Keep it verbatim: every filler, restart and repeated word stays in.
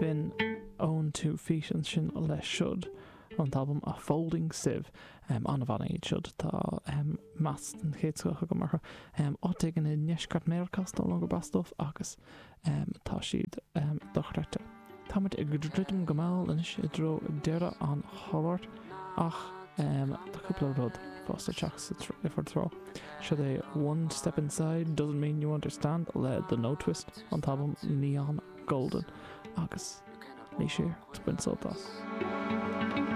B'in On Two Feet ansin le Should ón t-albam A Folding Sieve um, an-bhanna iad siúd tá um, meas den chéad scoth agam orthu. Um, áit éigin i ndeisceart Meiriceá is dóigh liom gurb as dóibh agus um, tá siad um, dochreidte. Táimid ag druidim go mall anois i dtreo deireadh an chláir ach um, tá cúpla rud fós le teacht sa tr- bhur dtreo. Seo é One Step Inside Doesn't Mean You Understand le The Notwist an t-albam Neon Golden agus ní sé bain sult as.